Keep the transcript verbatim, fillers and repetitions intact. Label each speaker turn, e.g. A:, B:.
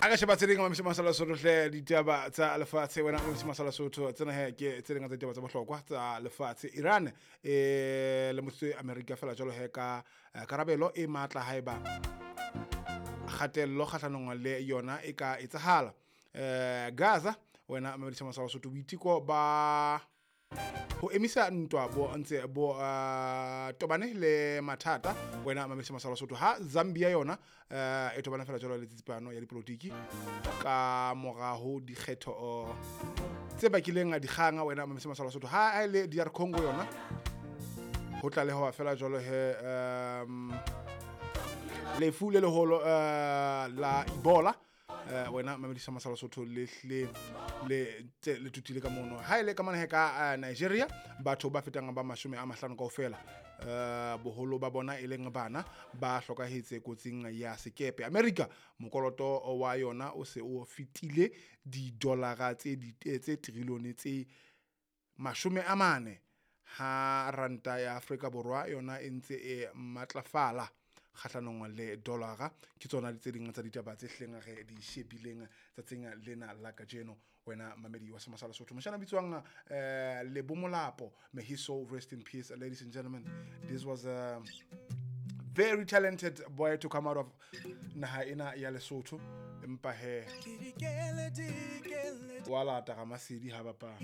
A: A ka sheba tse ding mamisi masala Sotho hle, ditaba tsa lefatshe wena mamisi masala Sotho. Tsena he ke tse ding tsa ditaba tsa bohlokwa tsa lefatshe. Iran e lemositse America fela jwalo he ka eh, karabelo e matla haeba kgatello kgahlanong le yona e ka etsahala. eh Gaza wena mamisi masala Sotho, boiteko ba ho emisa ntwa bo ntse bo uh, tobane le mathata wena mamisi masala Sotho. Ha Zambia yona uh, e tobane fela jwalo le tsitsipano ya dipolotiki ka moraho dikgetho uh, tse bakileng dikgang wena mamisi masala Sotho. Ha e le D R Congo yona ho tlalehoa fela jwalo he um, lefu le leholo uh, la Ebola uh, wena mamedi masala Sotho le hle le tse le tutile ka mono. Ha ile ka mona he ka uh, Nigeria batho ba fetang ba mashome a mahlano kaofela uh, boholo ba bona e leng bana ba hlokahetse kotsing ya sekepe. America mokoloto wa yona o se o fetile di-dollara tse di tse trillione tse mashome a mane, ha ranta ya Afrika Borwa yona e ntse e matlafala kgahlanong le dollara. Ke tsona tse ding tsa ditaba tse hleng re di shebileng tsatsing lena la kajeno wena mamedi wa Semasala Sotho. Moshana bitswang eh Lebo Molapo, may his soul rest in peace. Ladies and gentlemen, this was a very talented boy to come out of naha ena ya Lesotho, empa he wa lata ga masedi ha bapala.